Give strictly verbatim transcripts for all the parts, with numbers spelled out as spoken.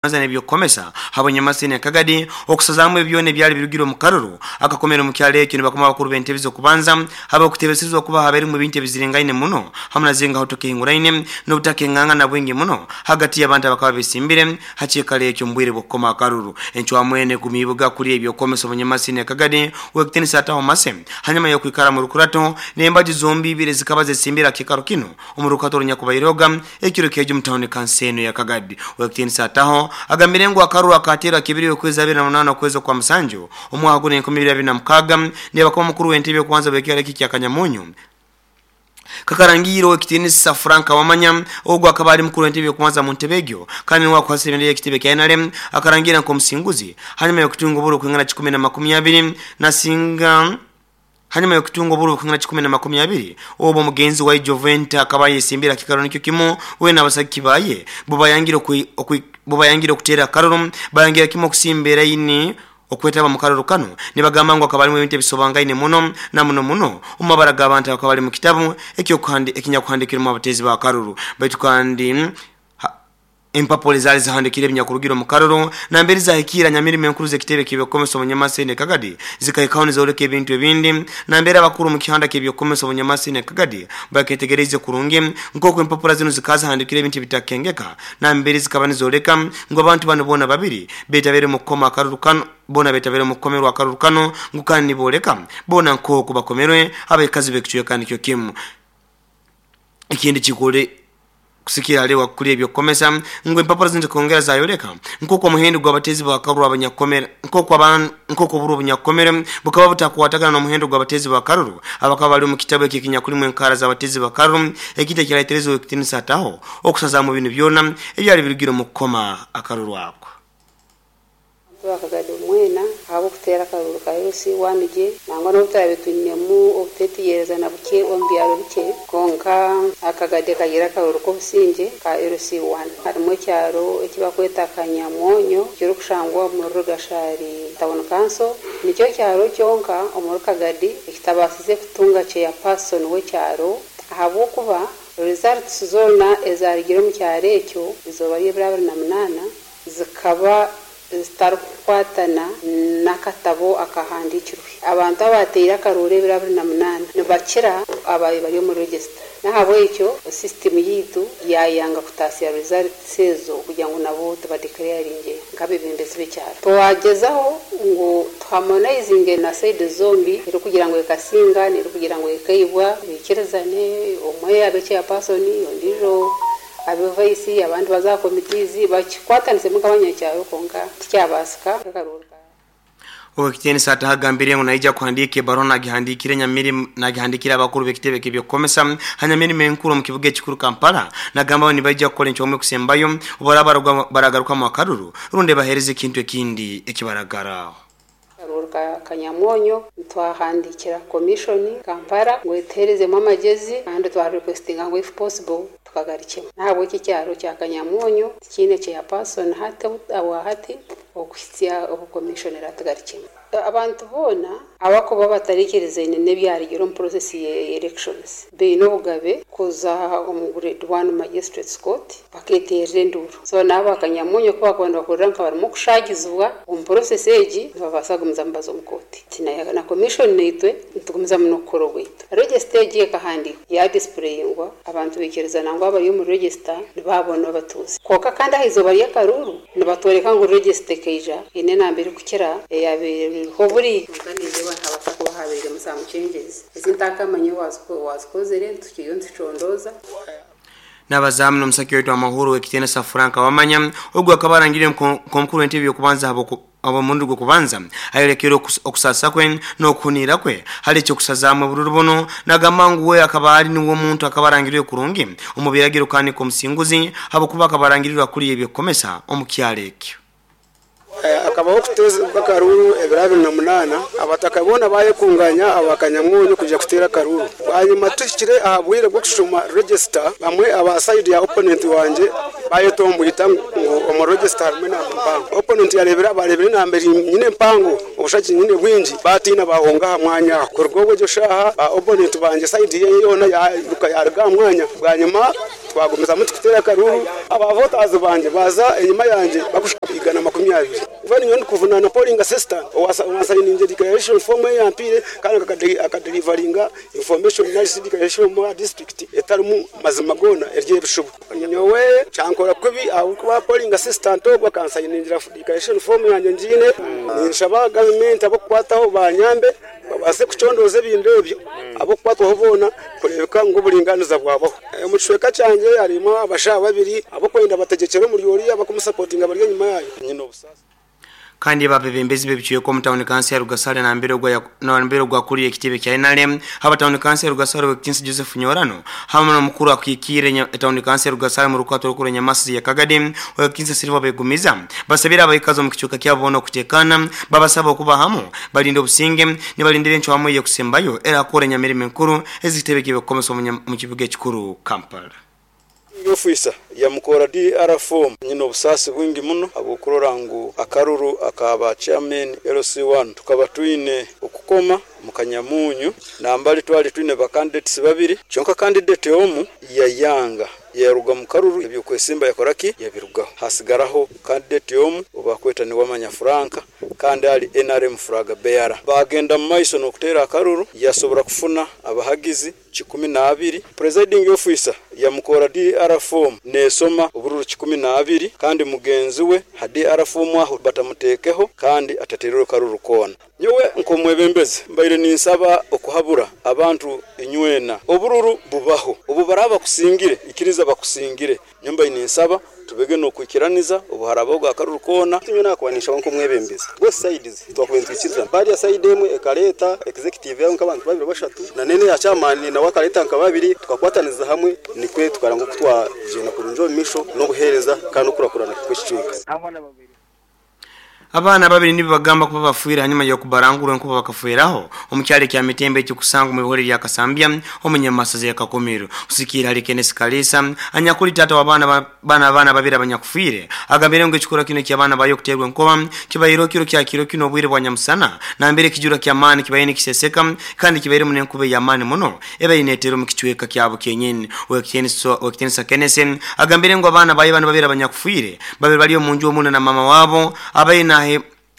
Nebyokukomesa habonyamasini akagadi okusazamu ebyona ebyali birugire omu karuru akakomera omu kyalo ekyo. Nibakoma abakuru b'entebe z'okubanza haba okutebesezwa okuba haberimu ebintu ebiziringaine muno hamu nazingaho tukihinguraine n'obutakenganga na bwingi muno hagati y'abantu abakaba besimbire hakyekalo ekyo mu bwire bw'okukoma akaruru. Encwamwene gumibuga kuri ebyokukomesa obunyamasini akagadi wekitinisa ataho mase hanyuma y'okwikara mu rukurato n'embaju zombi ibiri zikaba zesimbire akikaro kino omu rukato runyakubairoga ekiro kejo mu tawuni kanseno ya Kagadi. Wekitinisa ataho agambire ngu akaruru akateerwa kibiri okwezi abiri na munaana okwezi okwa musanju omwaka guno enkumi ibiri abiri na mukaaga nibakoma mukuru w'entebe okubanza bw'ekyaro eki kya Kanyamunyu kakarangiro ekitinisa Frank Wamanya. Ogwo akaba ari mukuru w'entebe okubanza mu ntebe egyo kandi niwe akwasire ebendera y'ekitebe kya N R M akarangira nk'omusinguzi hanyuma y'okutunga oburo kwingana kikumi na makumi abiri nasinga hanyuma y'okutunga oburo kwingana kikumi na makumi abiri. Obwo omugenzi wa Joventa akaba yesimbira kikaro nikyo kimu we n'abasaki baye bubayangire bubayangire okuteera akaruru, bayangira kimu okusimba eraini okwetaba mu karuru kano, nibagamba ngu akaba alimu ebintu ebisobangaine muno na muno muno omu mabara g'abantu abakaba bali mu kitabu ekinyakuhandikiremu abateezi ba karuru. Baitu kandi empapula ezaali zihandikire ebinyakurugira omu karuru nambere zahikira nyamirimo enkuru z'ekitebe ky'ebyokukomesa obunyamasini Kagadi zikahikaho nizoleka ebintu ebindi, nambere abakuru mu kihanda ky'ebyokukomesa obunyamasini Kagadi baketegereze kurungi nk'oku empapula zino zikaba zihandikire ebintu ebitakengeka, nambere zikaba nizoleka ngu abantu bano boona babiri betabire mu kukoma akaruru kano, boona betabire mu kukomerwa akaruru kano, ngu kandi niboleka boona nk'oku bakomerwe abaikazi b'ekicweka nikyo kimu. Ekindi kikole kusikira alewa kuri ebyokukomesa ngu empapula zino zikongera zayoleka nk'oku omuhendo gw'abatezi bakaruru abanyakukomera nk'oku abantu nk'oku oburu obunyakukomere bukaba butakwatagana n'omuhendo gw'abatezi bakaruru abakaba bali omu kitabu eki ekinyakulimu enkara z'abatezi bakaruru, ekintu ekiraitereza ekitinisa ataho okusazamu ebintu byona ebyali birugire omu kukoma akaruru ako. Twakagadi mwena ahabw'okuteera akaruru ka L C one gye, nangwa n'obu turabe twinemu obuteetegerezana bukye omu byaro bikye, konka akagadi kagira akaruru k'obusingye ka L C one. Harimu ekyaro eki bakweta Kanyamwonyo kirikushangwa omuri Rugashari Town Council, nikyo kyaro kyonka omuri Kagadi ekitabaasize kutunga chairperson w'ekyaro, ahabw'okuba results zoona ezarugire omu kyaro ekyo izooba ry'ebiro abiri na munaana zikaba zitarikukwatana n'akatabo akahandikirwe. Abantu abateire akaruru ebiro abiri na munaana nibakira abaye bari omu register, n'ahabwekyo sisitimu yiitu yayanga kutaasya results ezo kugira ngu nabo tubadeclaringe nk'abebembezi b'ekyaro. Twagyezaho ngu tuharmonizinge na side zombi, erikugira ngu ekasinga n'erikugira ngu ekaibwa, bikirizane, omwe abe chairperson, ondiijo abe vice, abandi baza aha committees, bakikwatanisemu nk'abanyakyaro, konka tikyabaasika akaruru. Owekitiinisa atahagambire ngu naija kuhandiika ebaruha nagihandikire nyamirimo nagihandikire abakuru b'ekitebe ky'ebyokukomesa hanyamirimo enkuru omu kibuga ekikuru Kampala, nagamba bo nibaija kukora encwamu ekusembayo obaraba baragarukamu akaruru rundi bahereza ekintu ekindi ekibaragaraho. Akaruru ka Kanyamwonyo twahandikira commission Kampala ngu etuherezemu amagezi kandi twarequestinga ngu if possible tukagarukemu, n'ahabw'ekyo ekyaro kya Kanyamwonyo tikiine chairperson hati hati okuhitsya obu commission eratugarukemu. Abantu boona abakuba batarikirizaine n'ebyarugire omu process ya elections baine obugabe kuza omu Grade one Magistrates Court baketerera enduru. So naabo Akanyamunyo ku bakuba nibahurira nka barimu kushagizibwa omu process egi, nibabaasa kugumizamu baza omu kooti. Na commission naitwe nitugumizamu n'okukora ogwaitu. Register egi ekahandiikwa yadisplayingwa, abantu baikirizana ngu abari omu register nibaabona abatuuzi, konka kandi aha izooba ry'akaruru nibatworeka ngu register ekaija eine enamba erikukira eyabaire eriho buri. Konka nindeeba nihabaasa kuba habairemu some changes ezi ntakamanya wazikozere, tukiriyo nitucondooza. N'abazamu n'omusaki waitu amahuru ekitiinisa Frank Wamanya. Ogwo akaba arangire nk'omukuru w'entebe y'okubanza omurundi gw'okubanza ayolekere okusasa kwe n'okuhunira kwe hali ekyokusazaamu obururu buno, nagamba ngu we akaba ali niwe omuntu akaba arangiriwe kurungi omu biragiro kandi nk'omusinguzi habwokuba akaba arangirirwe akuriye ebyokukomesa omu kyaro ekyo. Akabaho okuteeza akaruru ebiro abiri na munaana, abataka boona bayekunganya abakanyamwonyo kuja kuteera akaruru. Bwanyuma tuhikire aha bwire bw'okushoma register, bamwe aba side ya opponent wanje bayetombwita ngu omu register harimu enamba mpango. Opponent yarebera barebera enamba eri nyine mpango, obushaki nyine bwingi, batiina bahunga aha mwanya aho. Kuruga obwo egyo shaaha ba opponent banje side ye yoona yaruka yaruga aha mwanya. Bwanyuma Twagumizamu tukutera akaruru, abavotazi banje baza enyuma yanje bakushika igana makumi abiri. Kuva ninyo ndikuvunana polling assistant owasayininze declaration form eyampire kandi akadelivaringa information nalisi declaration mu district etarimu mazima gona ery'ebishubu. Nyowe kyankora kubi ahabwokuba polling assistant ogwo akansayiningira declaration form yanje ngiine. Ninshaba gavumenti abokukwataho banyambe babase kucondoza ebintu ebyo abokukwatwaho boona kureebeka ngu oburinganiza bwabaho. Omu kicweka kyangye harimu abashaho babiri abokwenda bategyekyere omuri oriya bakumusapotinga bari enyuma yayo. Nyine obusaasi. Kandi babebembezi bebicweka omu tawuni kansi ya Rugasare na mbere gwa na mbere gwa kuri ekitebe kya N R M haba tawuni kansi ya Rugasare Wekinsi Joseph Nyorano hamwe n'omukuru akikire tawuni kansi ya Rugasare mu rukwato rukuru Nyamasi ya Kagadi Wekinsi Silva begumiza basabira abayikazo mu kicuka kyabo bono kutekana babasaba okuba hamu balinda obusinge ne balindire encho hamwe yo kusembayo era akora nyamirimo enkuru ezitebe kibekomesa mu kibuga ekikuru Kampala. Ofisa yamukora D R form nyine obusasi bwingi muno abokurora ngu akaruru akaba chairman L C one tukaba twine okukoma mukanyamunyu nambali twali twine ba candidates babiri kyonka candidate omu yayanga yaruga mukaruru ebyo kwesimba yakoraki yabirugaho hasigaraho candidate omu obakweta ni wamanya Franka kandi ali N R M flag bearer bagenda mu maiso nokutera akaruru yasobora kufuna abahagizi kikumi na abiri. Presiding officer yamukora D R form nesoma obururu kikumi na abiri kandi mugenzi we ha D R form aho batamutekeho kandi ataterero karuru kona. Nyowe nkomwebembezi mbaire ninsaba okuhabura abantu inywena obururu bubaho obu baraba kusingire ikiriza bakusingire nyomba ninsaba tubege no kwikiraniza obuharaba bwa karuru kona. Tinyo nakwanisha nko mwebembezi both sides twakwentwikiriza bari ya side emwe ekaleta executive yaho nkabantu babiri bashatu na nene ya chairman na wakaleta nka babiri tukakwataniza hamwe nikwe tukaranga kutwagenda kurunjo misho no buhereza kandi okurakurana kw'ekicweka. Abana babiri nibo bagamba kuba bafuira hanyuma yo kubarangura nkuba bakafuiraho omukyale kya mitembe cyo kusanga mu bihore bya Kasambya omunyamasaze ya Kakomero usikira ali Kenneth Kalisa anyakuli tata wa bana bana abana babiri abanyakufuire agambire ngo ekikora kino kya bana bayo kuterwa nkoba kibayiro kiro kya kiro kino obwire bwa nyamusana na mbere kijura kya mani kibayine kiseseka kandi kibayire mu nkube ya mani muno ebe inetero mu kicweka kyabo kenyene we Kenneth Kenneth agambire ngo abana bayo bana babiri abanyakufuire babiri bali omunju omuna na mama wabo abayina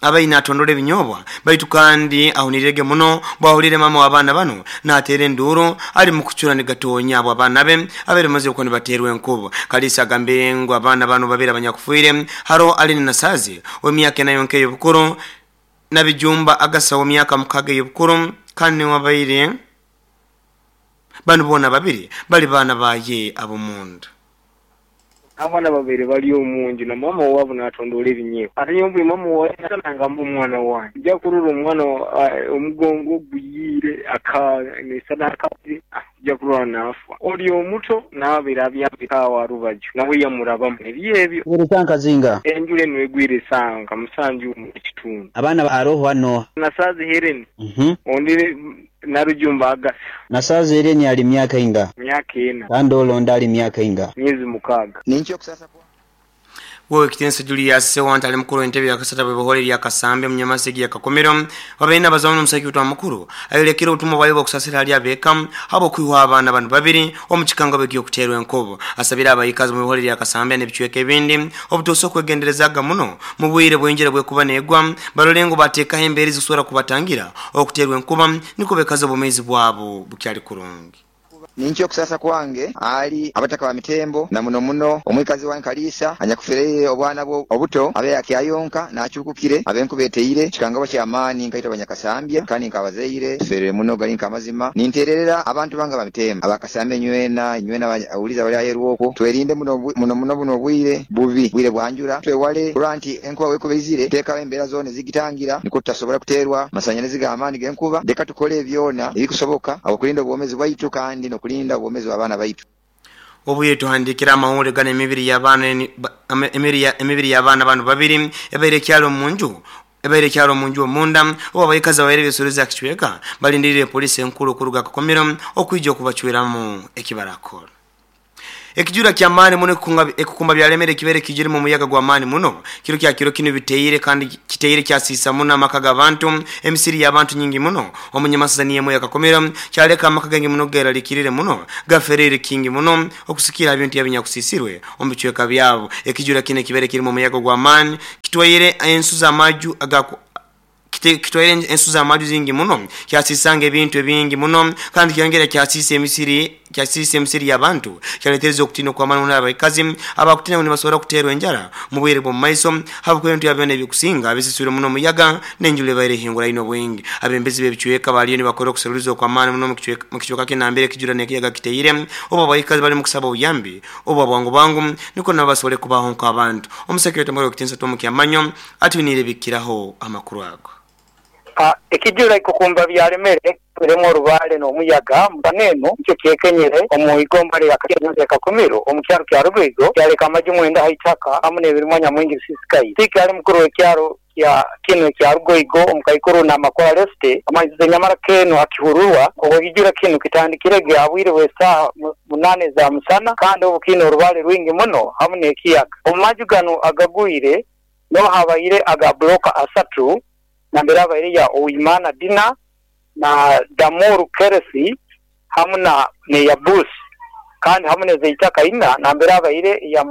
abayina atondole binyobwa baitu kandi ahunirege muno bwahulire mama w'abana bano natere nduru ali mukuchura nigatonya abo abana be abere maze uko nibaterwe enkubo. Kalisa agambire ngo abana bano babiri abanyakufuire haro ali nasazi we myaka nayo nkeyo bukuru nabijumba agasa we myaka mukaga yobukuru kandi wabaire bano bona babiri bali bana baye abomunda. Abana babiri bali omunju na mama wabo natondola ebinyeewo ate nyombi mama watananga mbu omwana wange nja kurura omwana omugongo guyire aka nesadaka nja kurura nafa oli omuto n'abeera abyabikawa rubaju nawe yamurabamu ebyebyo Urutanka zinga enjula eno egwire sanga musanju mu kitundu abaana aroho hano nasazi Helen mhm ondi narujumba agasa nasazi Helen ali myaka inga myaka ena kandi olonda ali myaka inga myezi mukaaga nincho kusasa kwa Wewe kitensa Julius Sewanta ali mukuru entebe ya kasata bwe ya Kasambe munyamasegi ya Kakomero wabaina bazamu musaki utwa mukuru ayolekera utumwa bayo kusasira ali abeka habo kwiwa abana bantu babiri omukikanga begiyo kuterwa enkobo asabira abayikazi mu bihore ya Kasambe n'ebicweka ebindi obutoso kwegenderezaga muno mu bwire bwenjera bwe kuba negwa barolengo bateka emberi zisura kubatangira okuterwa enkuba niko bekaza obumezi bwabo bukyali kurungi. Nincho kusasa kwange ali abataka ba mitembo na muno muno omwikazi wa Nkalisa anyakufereye obwana bwo obuto abe yakyayonka nachukukire abenkubeteire kikangabo kya amani nkaita abanyakasambya kandi nkabazeire ferere muno gali nkamazima nintererera abantu banga ba mitembo abakasambya nywena nywena awuliza bali ayeruoko twerinde muno muno muno buno bwire bubi bwire bwanjura twewale kuranti enkuba wekubezire teka embera zone zigitangira niko tutasobola kuterwa masanyalazi ga amani genkuba deka tukole ebyona ebikusoboka abakulinda obwomezi bwaitu kandi no kulinda obwomezi bw'abaana baitu. Obuye tuhandikira amahuri gane emibiri y'abaana emibiri y'abaana bano babiri ebaire kyalo munju ebaire kyalo munju omunda oba abayikazi abaire besuliza kichweka balindirire polisi enkulu kuruga Kakomero okwijja okubachweramu ekibarakora. Ekijura kya maani muno ekukumba byalemere kibere kijiri mu muyaga gwa maani muno kiro kya kiro kino biteire kandi kiteire kyasisa muno amaka g'abantu emisiri y'abantu nyingi muno omunyamasaza niye moya kakomera kyaleka amaka gangi muno geralikirire muno gaferere kingi muno okusikira ebintu yabinyakusisirwe omu bicweka byabo. Ekijura kino kibere kiri mu muyaga gwa maani kitwaire ensu z'amaju aga kitwaire ensu z'amaju zingi muno kyasisanga ebintu ebingi muno kandi kyongera kyasisa emisiri kyasisa emisiri y'abantu kyaletereza okutina kwa maana n'abakazi abakutina ni basobora kuterwa enjara mu bwire bwo maiso habwo ebintu byabyo ebikusinga abisisure muno muyaga n'enjule baire hingura ino bwingi. Abembezi b'ebicweka baliyo ni bakora okuseruliza kwa maana muno mu kicweka kinambere kijura n'ekiyaga kiteire oba abayikazi bali mu kusaba obuyambi oba bwangu bwangu niko nabasobole kubaho nk'abantu. Omusekretari mukuru w'ekitiinisa Tom Kyamanyo atwinire bikiraho amakuru ago. Ekijura ikukumba byalemere birimo orubale n'omuyaga mbaneno nicyo kyekenyere omu igomba lya Kakumiro omu kyaro kya Rugwigo kyaleka amaju mwenda haitaka hamwe n'ebirimwa nyamwingi bisisikaye. Tiki ali mukuru w'ekyaro kya kino kya Rugwigo omu Kaikuru na Makora Leste amaizi nyamara keno akihururwa obwo kino kitandikire gyabwire bw'esaaha munane za musana kandi obu kino orubale rwingi muno hamwe n'ekiyaga. Omu maju gano agagwire no habaire aga bloka asatu nambera abaire ya Oimana Dina na Damuru Keresi hamwe na Neyabusi kandi hamwe nezeitaka ina nambera abaire ya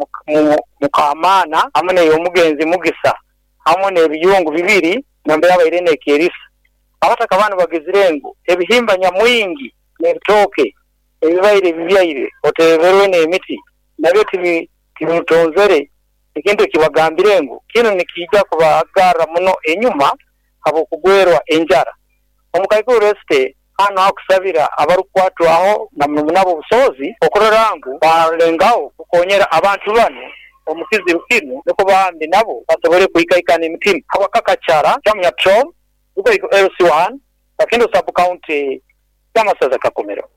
Mukamana hamwe neyomugenzi Mugisa hamwe nebiyungu bibiri nambera abaire nekerisa. Abataka bano bagizirengo ebihimba nyamwingi n'ebitoke ebibaire bibyaire oteberwe n'emiti nabyo tibimutonzere ekintu kibagambire ngu kino nikijja kubagarra muno enyuma abo kugwerwa enjara. Omukaikuru Este hano hakusabira abarukwatwaho na munabo busozi okurora ngu balengaho kukonyera abantu bano omukizibu kino niko bahambi nabo basobole kuikaikana emitima. Habakakacara chamya Tom uko L C one Kakindo sub county kyamasaza Kakomero.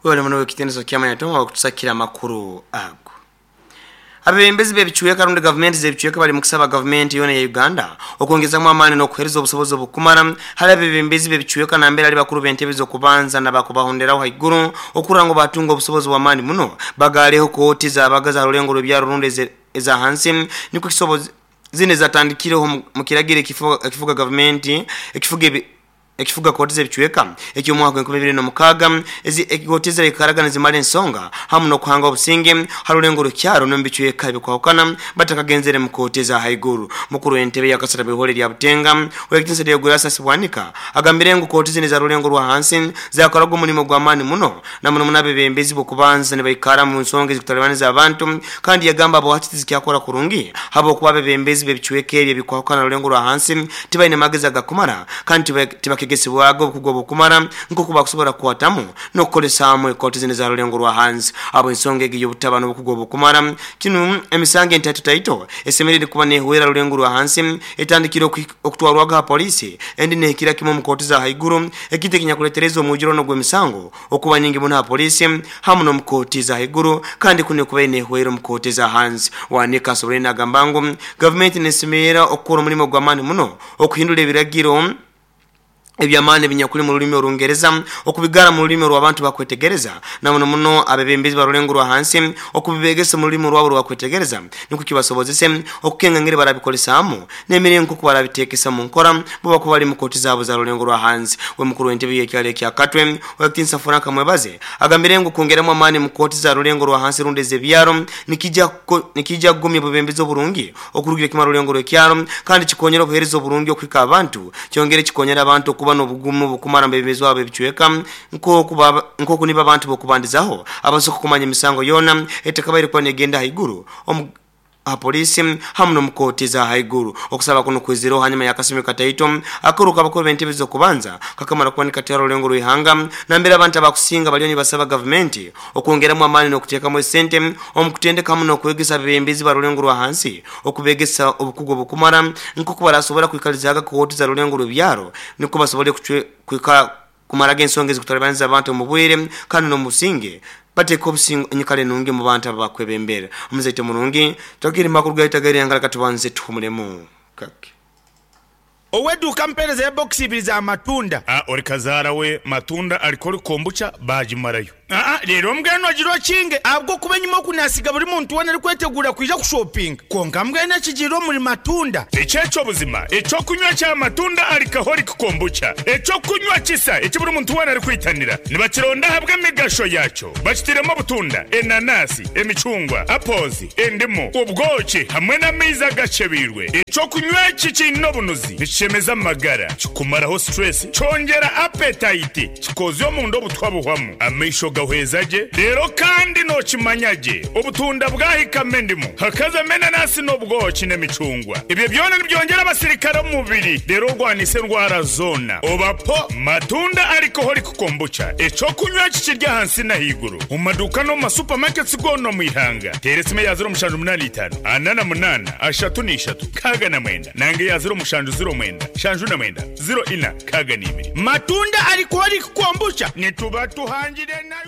Wewe muno wekitendezo kyamanya Tom wakutusakira amakuru ago. Abebembezi b'ebichweka rundi government z'ebichweka bali mukusaba government yona ya Uganda okwongezamu amaani n'okuhereza obusobozi obukumara hali abebembezi b'ebichweka nambere ali bakuru b'entebe z'okubanza n'abakubahonderaho haiguru okura ngo batunga obusobozi bw'amaani muno bagaleho kooti z'abagaza rulengo rw'ebyaro rundi eza hansi niko kisobozi zine zatandikireho mu kiragiro ekifuga government ekifuga ekifuga kooti z'ebichweka ekyo mwaka enkumi ibiri na mukaga ezi kooti z'ekaragana zimala ensonga hamu n'okuhanga obusinge harulengo rukyaro n'omu bichweka ebikwahukana batakagenzere mu kooti za haiguru. Mukuru w'entebe ya Kasara bihore lya Butenga w'ekitinisa lya Gurasa Sibwanika agambire ngu kooti zine za rulengo rwa hansi zakoraga omulimo gw'amaani muno na muno n'abebembezi b'okubanza nibaikara mu nsonga ezikutalibaniza abantu kandi yagamba abo hakiti zikyakora kurungi habwokuba abebembezi b'ebichweka ebyo ebikwahukana rulengo rwa hansi tibaine magezi agakumara kandi tibakegesiibwago obukugwa obukumara nk'oku bakusobola kukwatamu n'okukolesamu ekooti zine za rulengo rwa hansi. Abo ensonga egi y'obutaba n'obukugwa obukumara kinu emisango entaito taito esemerere kuba nehwera rulengo rwa hansi etandikire okutwarwaga ha polisi endi nehikira kimwe mu kooti za haiguru ekintu ekinyakuletereza omwijurono gw'emisango okuba nyingi muno ha polisi hamu n'omu kooti za haiguru kandi kuno kuba nehwera omu kooti za hansi. Wanika asobole nagamba ngu gavumenti nesemerera okukora omulimo gw'amaani muno okuhindura ebiragiro ebyamaani binyakuli mu lulimi Olungereza okubigara mu lulimi rw'abantu bakwetegereza na muno muno abebembezi barulengo rwa hansi okubibegesa mu lulimi rwabo rwakwetegereza niko kibasobozese okukenga ngeri barabikolesaamu n'emiringo nko barabitekesa mu nkora bo bakuba bali mu kooti zaabo za rulengo rwa hansi. We mukuru w'entebe y'ekyalo ekya Katwe w'ekitinisa Frank Mwebaze agambire ngu kwongeramu amaani mu kooti za rulengo rwa hansi rundi ez'ebyaro nikijja nikijja kugumya obubembezi oburungi okurugira kimara rulengo rw'ekyaro kandi kikonyera obuheereza oburungi okuhika abantu kyongere kikonyera abantu kuba n'obugumu bukumara mbebezi wabo ebichweka nkoku niba abantu bokubandizaho abasoka kumanya emisango yona etakabaire kuba negenda haiguru omu ha polisi hamu n'omu kooti za haiguru. Okusaba kuno kwiziraho hanyuma y'akasumi kataito akaruka abakuru b'entebe z'okubanza kakamara kuba nikatera orulengo rw'ihanga nambere abantu abakusinga baliyo nibasaba gavumenti okwongeramu amaani n'okuteekamu esente omu kutendeka hamu n'okwegesa abebembezi ba rulengo rwa hansi okubegesa obukugu obukumara nk'oku barasobora kwikalizaga kooti za rulengo rw'ebyaro niko basobole kwika kumaraga ensonga ezikutalibaniza abantu omu bwire kandi n'omusinge bateka obusingo enyikara enungi mu bantu abakwebembera. Omuzaite murungi twakiri makuru gaitagaire yangala katubanze tuhumulemu kake. Oweduka mpereza ya box ibiri za matunda. Ah, ori kazara we matunda alikori kombucha bajimarayo. Aa rero mbwenu agira okinge ahabwo kuba enyuma okunasiga buri muntu wena arikwetegura kwija kushopinga konka mbwenu ekigiire omuri matunda. Ekyekyo buzima ekyokunywa kya matunda alcoholic kombucha ekyokunywa kisa eki buri muntu wena arikwitanira nibakironda ahabwa emigasho yakyo bakitiremu obutunda, enanasi, emicungwa, apples, endimu, obwoki hamwe n'amaizi agacebirwe. Ekyokunywa eki kiine obunuzi nikishemeza amagara, kikumaraho stress, kyongera appetite, kikozya omunda obutwa buhwamu, amaisho gahweza gye. Rero kandi nokimanya gye obutunda bwahikamo endimu hakazamo enanasi n'obwoki n'emicungwa, ebyo byona nibyongera abasirikare omu mubiri rero orwanisa endwara zona. Obapo matunda alcoholic kombucha ekyokunywa eki kirya ahansi n'ahaiguru omu maduuka n'omu masupamaketi goona omu ihanga. Teera esimu eya ziro mushanju munaana itaano ana na munaana ashatu n'ishatu nkaaga na mwenda nange eya ziro mushanju ziro mwenda shanju na mwenda ziro ina nkaaga n'ibiri. Matunda alcoholic kombucha nituba tuhangire nayo.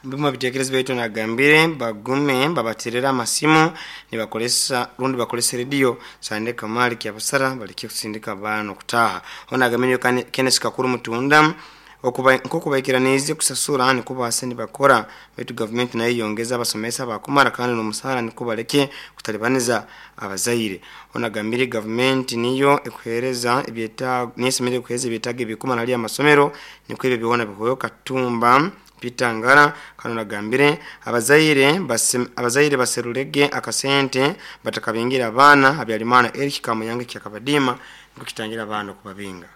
Mbima bitekerezo baitu nagambire bagume babaterera amasimu nibakolesa rundi bakolesa radio sande kamali kyabasara baliki kusindika abantu kutaha. Ona gamenyo Kenneth Kakuru mutunda okuba nkokubaikiranize kusasura ni kubase nibakora baitu government nayo yongeza abasomesa bakumara kandi n'omusara nikubaleke kutalibaniza abazaire. Ona gambire government niyo ekuhereza ebyeta nisemere kuhereza ebyetaga ebikumara ali amasomero niko ebyo byona bihoyo Katumba Pitangara. Kano nagambire abazaire basem, abazaire baserulege akasente batakabingira abana habyalimana Eric Kamuyange kyakabadima nikukitangira abana kubabinga.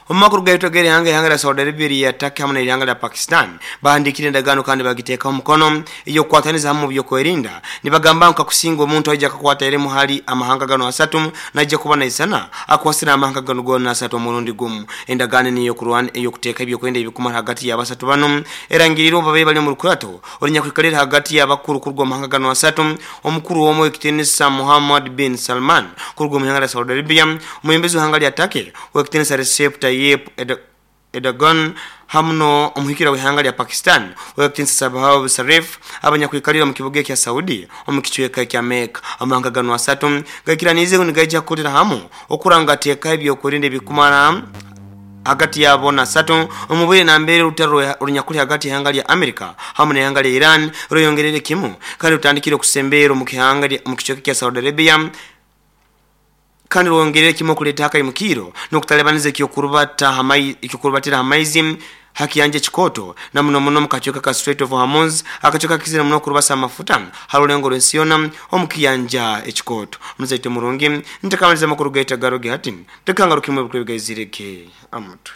Omakuru gaito gere hanga hanga la Saudi Arabia ya Turkey hamwe na la Pakistan bahandikire endagaano kandi bagiteeka omukono iyo kwataniza hamwe byo kwerinda nibagamba nka kusinga omuntu aija kakwata ere muhali amahanga gano asatu naija kuba naisana akwasira amahanga gano gona asatu omurundi gumu. Endagaano niyo kurwana iyo kuteeka ebyo kwenda ebikumara hagati y'abasatu bano erangiriro babe bali mu rukurato orinya kwikalira hagati y'abakuru kurwa amahanga gano asatu omukuru w'omu ekitenisa Muhammad bin Salman kurwa mu hanga la Saudi Arabia omuyembezi w'hanga lya Turkey w'ekitenisa Recep Tayyip Erdogan hamno omuhikira w'ihanga lya Pakistan w'ekitinsa Sabah Sharif abanyakwikalira mu kibuga kya Saudi omukichweka kya Mecca. Amahanga gano asatu gakiranize nigaija kukolera hamu okuranga teeka ebyo kurinda ebikumara hagati yabo na satu omubire na mbere rutaro runyakuli hagati y'ihanga lya America hamwe n'ihanga lya Iran ruyongerere kimu kandi rutandikire kusembera mu kihanga mu kichweka kya Saudi Arabia kandi rwongerere kimo kuleta haka imukiro nokutalebaniza ekyokurubata hamai ekyokurubatira hamaizi haki yanje chikoto na muno muno mukachoka ka Strait of Hormuz akachoka kizira muno kurubasa amafuta harulengo rwensiona omukiyanja ekikoto muzaite murungi ntakamaliza makuru gaita garoge hati tekangarukimwe bukwe amutwe.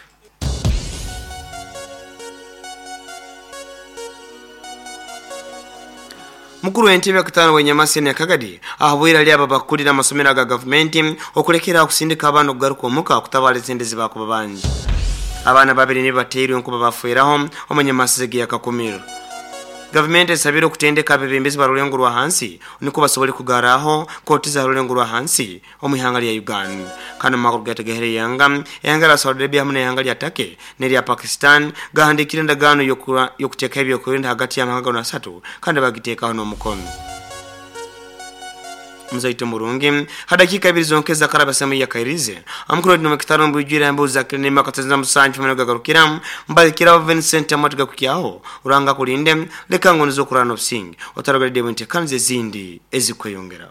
Mukuru w'entebe akatano wenyamasi ya Kagadi ahabwira ali ababakulira amasomero ga government okulekera kusindika abana okugaruka omuka okutabala ezendezi bakuba bangi. Abaana babiri ne bateirwe nkuba bafueraho omanyamasi ya Kakumiro. Government esabira okutendeka abebembezi barulengo rwa hansi niko basobole kugaraho koti za rulengo rwa hansi omwihanga lya Uganda. Kano makuru gategehere yanga yanga la Saudi Arabia hamwe n'ihanga lya Turkey n'erya Pakistan gahandikire endagaano y'okuteeka ebyokurinda hagati y'amahanga gano asatu kandi bagiteekaho n'omukono. Mzaito murungi hadakika ibiri zonkeza karaba semu ya kairize amukuru no mekitano mbujira mbuza kinema katazana musanju meno gagarukira mbalikira Vincent amatuga kukiaho uranga kulinde leka ngo nizokurana obusingi otaragalide bwente kanze zindi ezikweyongera.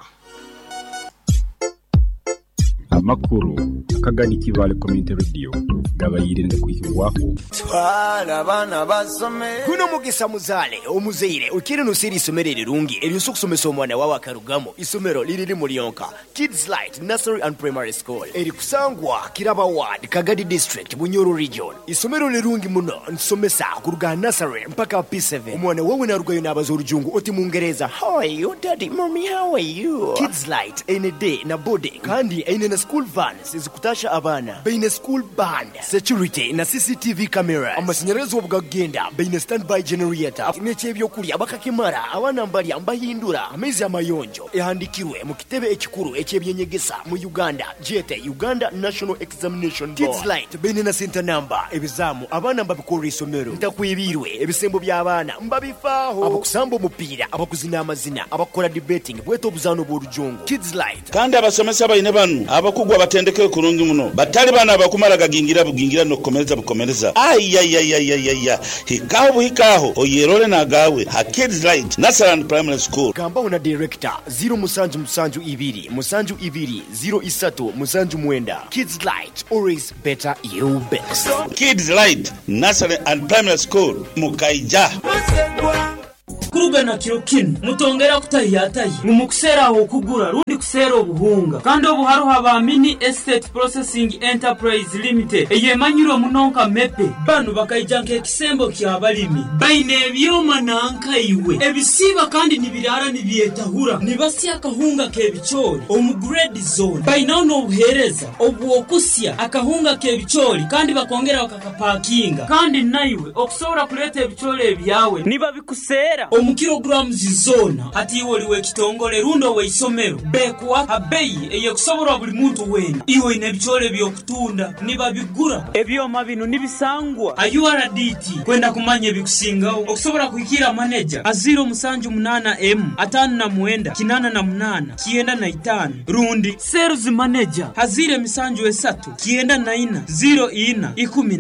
Amakuru akagani Kibale Community Radio gabayirinde kuhingwaho twala abana basome kuno mugisa muzale omuzeire ukiri nusiri isomero rirungi eryo kusomesa omwana wawe akarugamo isomero liriri mulionka Kids Light Nursery and Primary School eri kusangwa Kiraba Ward Kagadi District Bunyoro Region. Isomero lirungi muno nsomesa kuruga nursery mpaka P seven. Omwana wawe narugayo nabaza orujungu oti mungereza how are you daddy mommy how are you. Kids Light ene day na boarding kandi ene na school vans ezikutasha abana baine school band security na C C T V cameras amashanyarazi obugagenda baine standby generator n'ekyebyokulya bakakimara abana mbalya mbahindura amaizi amayonjo ehandikirwe mu kitebe ekikuru ekyebyenyegesa mu Uganda jete Uganda National Examination Board. Kids Light baine na center number ebizamu abana mbabikora isomero ntakwibirwe ebisembo by'abaana mbabifaaho abakusamba omupiira abakuzina amazina abakora debating bweto obuzano bw'orujungu. Kids Light kandi abasomesa baine banu Abakugu abatendekere kurungi muno batali bana abakumara gagingira bugingira n'okukomereza bukomereza. Ayayayayaya, hikaho buhikaho oyerole nagawe ha Kids Light Nursery and Primary School. Gambaho na director ziro musanju musanju ibiri musanju ibiri ziro isatu musanju mwenda. Kids Light, always better you best. Kids Light Nursery and Primary School mukaija. Kurugana kiro kinu mutongera kutahiyatahi mumukuseera okugura rundi kuseera obuhunga kandi obuharuha ba Mini Estate Processing Enterprise Limited eyemanyirwe muno nka mepe. Banu bakaija nk'ekisembo ky'abalimi baine ebyoma nankaiwe ebisiba kandi nibirara nibyetahura nibasya akahunga k'ebicoori omu grade zone. Bainaho n'obuheereza obw'okusya akahunga k'ebicoori kandi bakongera bakakapakinga kandi naiwe okusobola kuleeta ebicoori ebyawe nibabikuseera omu kilograms zona. Hati iwe oli w'ekitongole rundi ow'eisomero bekuwa abeyi eyekusoborwa buli muntu wena. Iwe oyine ebicoori eby'okutunda nibabigura. Ebyoma bino nibisangwa a U R D T. Kwenda kumanya ebikusingaho okusobola kuhikira maneja aziro musanju munana m atano na mwenda kinana na munana kienda na itano rundi sales manager azire misanju esatu kienda na ina ziro ina ikumi na